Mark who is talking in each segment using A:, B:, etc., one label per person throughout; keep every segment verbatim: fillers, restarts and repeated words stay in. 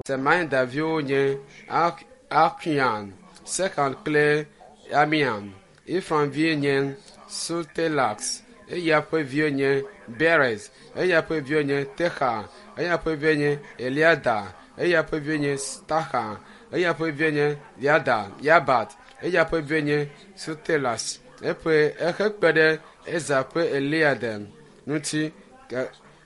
A: Semaida viwo nye Axian, Sekan kple Amiam. Efraim vie nye Sutelax, eya ƒe vie nye Beres, eya ƒe vie nye Texa, eya ƒe vie nye Eliada, eya ƒe vie nye Taxa, eya ƒe vie nye Yada, Yabat, eya ƒe vie nye Sutelas. Eƒe ehe kpe ɖe Eza ƒe Eliada ŋuti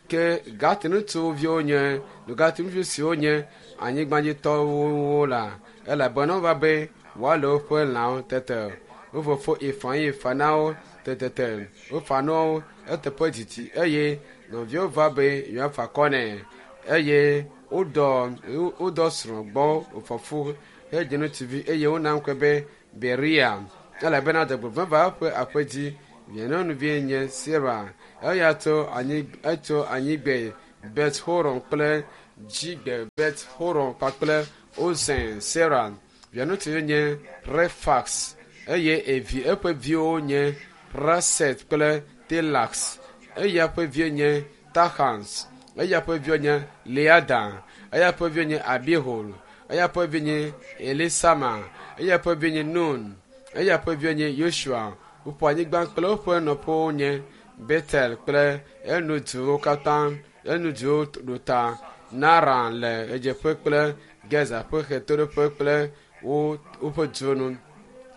A: ke Gat ŋutsuviwo nye Gat ŋutsu siwo nye anyigbadzitɔwo la elabena wova be woale woƒe lãwo tete. Wo fofo Efraim fa na wo tetete wofa na wo eteƒe didi eye nɔviwo va be yewoafa akɔ nɛ eye wodɔ wodɔ srɔ̃ gbɔ wòfɔ fu hedzi ŋutsuvi eye wona ŋkɔe be Beria elabena dzɔgbevɔ̃e va eƒe aƒe dzi. Via nyɔnuvie nye Sera. Eya tso anyi etso anyigbe Bet Horon kple dzigbe Bet Horon kpakple Ozen Sera. Via ŋutsuvi nye Refax eye evi eƒe viwo nye Raset kple Telax. Eya ƒe vie nye Tahans. Eya ƒe viwo nye Leada. Eya ƒe vie nye Abihul. Eya ƒe vie nye Elisama. Eya ƒe vie nye Nun. Eya ƒe vie nye Yosua. Woƒe anyigba kple woƒe nɔƒewo nye Betel kple enuduwo katã enuduwo ɖo ta Naran le ɣedzeƒe kple Gezer ƒe ɣetoɖoƒe kple wo woƒe duwo nu.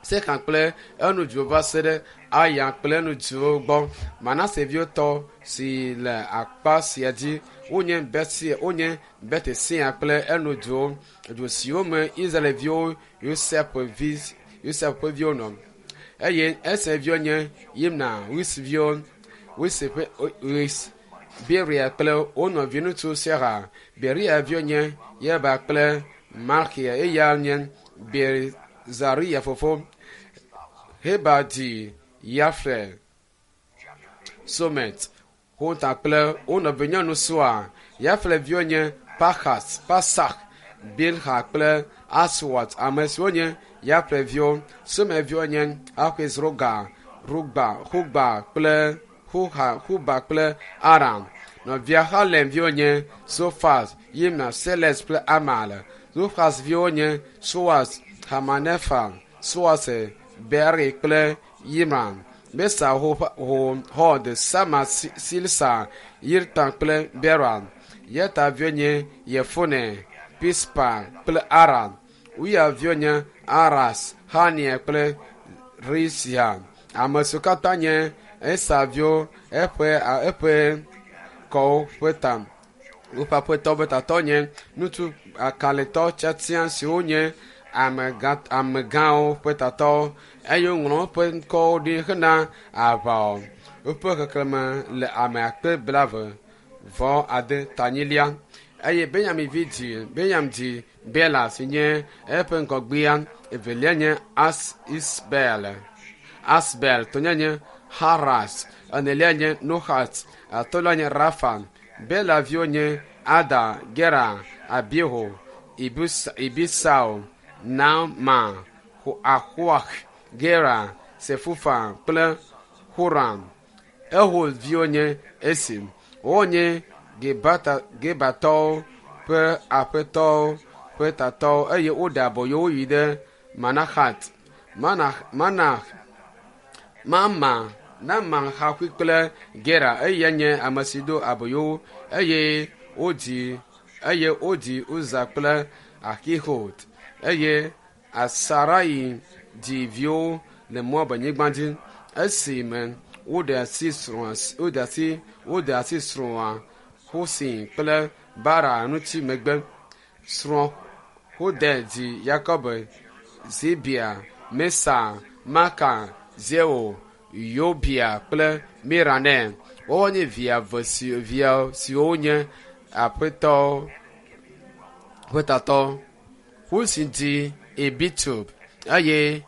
A: Sekan kple enuduwo va se ɖe Aya kple enuduwo gbɔ. Manase viwo tɔ si le akpa sia dzi wonye Betsia wonye Betesea kple enuduwo du siwo me Israelviwo Yosef vi Yosef ƒe viwo nɔ. Eye Eser viwo nye Yimna, Wis viwo, Wis ƒe Wis, Beria kple wo nɔviŋutsu Sera. Beria viwo nye Yeba kple Malkia eya nye Bezaria fofo. Heba dzi Yaflet, Somet, Hota kple wo nɔvinyɔnu Sua. Yaflet viwo nye Pachas, Pasak, Bilha kple Aswat, ame siwo nye Yaflet viwo. Somer viwo nye Ahezroga, Rugba, Hugba kple Huha, Huba kple Aram. Nɔvia Halem viwo nye Sofas, Yimna, Seles kple Amal. Zofas viwo nye Soas, Hamanefa, Soas, Beri kple Yimran. Mesa ho, ho, Hod, Sama, Silsa, Yirtan kple Beran. Yeta viwo nye Yefune, Pispa kple Aram. Uya viwo nye Aras, Hania kple Risia. Ame siwo katã nye Esa viwo eƒe eƒe kɔwo ƒe ta. Woƒe aƒetɔ ƒe tatɔ nye ŋutsu kalẽtɔ tiatia siwo nye amegã amegãwo ƒe tatɔwo eye woŋlɔ woƒe ŋkɔwo ɖi hena aʋa. Woƒe xexlẽme le ame akpe blaeve vɔ ade tanyilia. Eye Benyamin vi dzi Benyamin dzi Bela si nye eƒe ŋgɔgbea. Evelia nye As Isbel. Asbel, tɔ̃lia nye Haras, enelia nye Nohat, atɔ̃lia nye Rafa. Bela viwo nye Ada, Gera, Abihu, Ibus, Ibisau, Naama, Ahoah, Gera, Sefufa kple Huram. Ehud viwo nye Esi. Wonye Gebata, Gebatɔwo ƒe aƒetɔwo ƒe tatɔwo eye woɖe aboyo wo yi ɖe Manahat. Manah, Manah, Mama, Nama Haxui kple Gera eya nye ame si do aboyo wo eye wodzi eye wodzi Uza kple Ahihud eye Asarai dzi viwo le Moab nyigba dzi esime woɖe asi srɔ̃a woɖe asi woɖe asi srɔ̃a Husin kple Bara ŋuti megbe. Srɔ̃ Hode dzi Yakob, Zibia, Mesa, Maka, Zeo, Yobia kple Mira nɛ. Woawo nye via eve si via siwo nye aƒetɔ ƒe tatɔ. Husin dzi Ebitub eye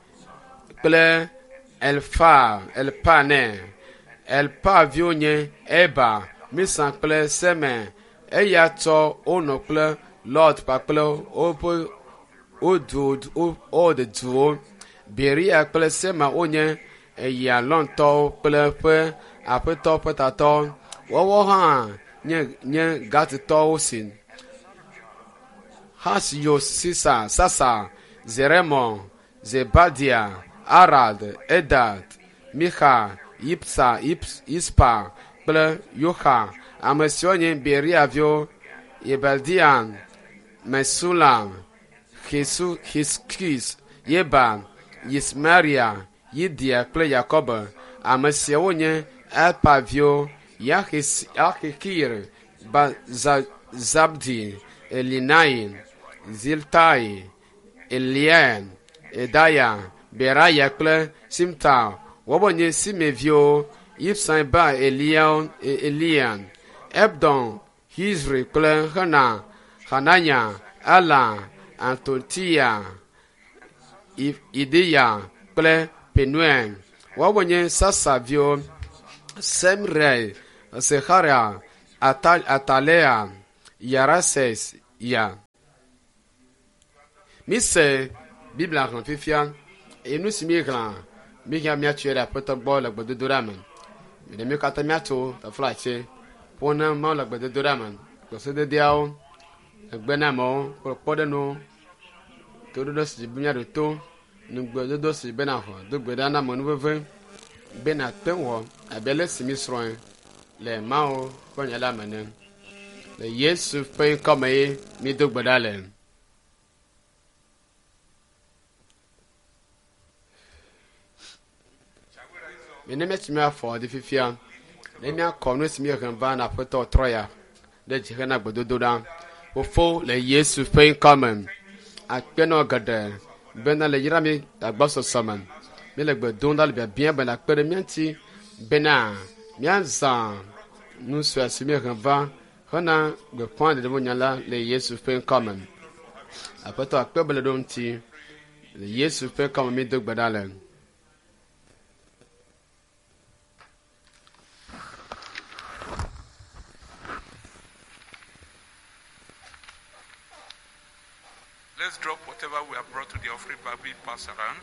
A: kple Elfa Elpa nɛ. Elpa viwo nye Eba, Misa kple Seme. Eya tsɔ Ono kple Lot kpakple woƒe wodu wode duwo. Beria kple Sema wonye Eyalɔntɔwo kple ƒe aƒetɔ ƒe tatɔ. Woawo hã nye nye Gatitɔwo si. Hasyo Sisa Sasa Zeremo Zebadia Arad Edad Micha Yipsa Ips, Ispa kple Yoha ame siwo nye Beria viwo Yebaldian Mesulam Hisu Hiskis Yeba Yismaria Yidia kple Yakob ame siawo nye Elpa viwo Yahis- Yahikir Ba- Zabdi Elinai Ziltai Eliel Edaya Beraya kple Simta woawoe nye Simei viwo Ibsan ba Eliel Elian Ebdon Hizri kple Hena Hananya Ela Antotia I- Ideya kple Penuel woawoe nye Sasa viwo Semrel Seharia Atal Atalea Yarases ya. Mise Biblia xlẽ fifia eye nu si mi xlẽa mi hã míatsoe ɖe aƒetɔ gbɔ le gbedodoɖa me. Ɖe mi katã míatso taflatse ƒo ne Mawu le gbedodoɖa me. Gbesededeawo, egbenamewo kple kpɔɖenuwo, toɖoɖo si dzi be míaɖo to, nugbedodo si be naxɔ, do gbe ɖa na amenuveve be nàte ŋu wɔ abe ale si mi srɔ̃e le Mawu ƒe nya la me ene. Le Yesu ƒe ŋkɔme ye mído gbe ɖa le. Mene míatsi míafɔ ɖi fifia ne míakɔ nu si míehe va na aƒetɔ trɔ ya ɖe dzi hena gbedodoɖa. Fofo le Yesu ƒe ŋkɔme akpe nɔ geɖe bena le yra mi agbɔsɔsɔ me. Míele gbe dom ɖa le biabia be nàkpe ɖe mía ŋuti bena míazã nu sue si míehe va hena gbeƒã ɖeɖe nya la le Yesu ƒe ŋkɔme. Aƒetɔ akpe be le ɖo ŋuti le Yesu ƒe ŋkɔme mído gbe ɖa le.
B: Let's drop whatever we have brought to the offering bag being passed around.